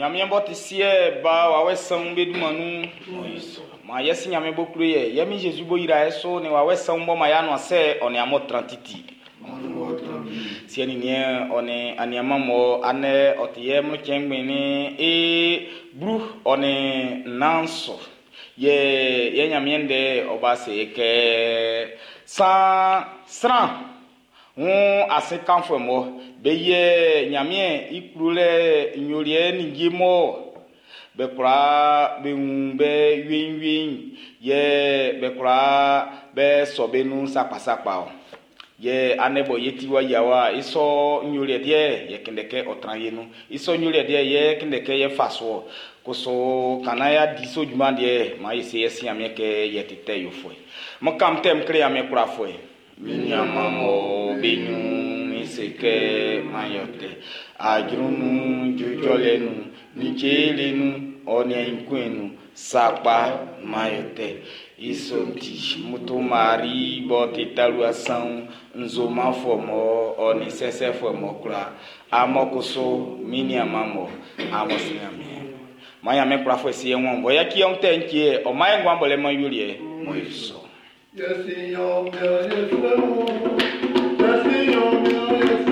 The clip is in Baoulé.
Ɲanmiɛn b'ɔ ti Siɛ, Ba, Wawɛ Sanwun be dunman nun. Maan yɛ Si Ɲanmiɛn b'ɔ klo ye, yɛ Min Zezi b'ɔ yra e su nin Wawɛ Sanwun b'ɔ man ye anuansɛ ɔ nin amun tran titi. Siɛ nin niɛn ɔ nin aniaanman mɔ andɛ ɔ ti yɛ mlɔnnucɛn ngbɛn nin i 14 su. Yɛ yɛ Ɲanmiɛn ndɛ ɔ ba se kɛ san sran wun ase kanfuɛ mɔ be yɛ Ɲanmiɛn i klolɛ nyoliɛ ninnge mɔ be kwlaa be wun be weinwein yɛ be kwlaa be sɔ be nun sakpasakpa ɔ. Yɛ andɛ bɔ ye ti wa yia wa i sɔ nyoliɛ deɛ yɛ kunndɛ kɛ ɔ tran ye nun. I sɔ nyoliɛ deɛ yɛ kunndɛ kɛ yɛ fa su ɔ. Koso ka naan y'a di so junman deɛ maan ye se yɛ Si Ɲanmiɛn kɛ yɛ ti tɛ yofuɛ. Mo kam tɛm kle Ɲanmiɛn kwlafuɛ. Min nianman mɔ be ɲrun min se kɛ man yɔ tɛ. Ajru nun, jujɔlɛ nun, nin cele nun, ɔ nin aɲinkuɛ nun, sakpa man yɔ tɛ. I sɔ'n ti, moto mari b'ɔ ti talua sanwun, nzomanfuɛ mɔ ɔ nin sɛsɛfuɛ mɔ kwla. Amɔ koso min nianman mɔ amɔ si Ɲanmiɛn. Maan Ɲanmiɛn kwlafuɛ si e wɔn bɔ yaci ɔn tɛ ntie ɔ man e nguan bɔlɛ man yoliɛ mo e sɔ. Yɛsi Ɲanmiɛn ye fɛ o, yɛsi Ɲanmiɛn ye.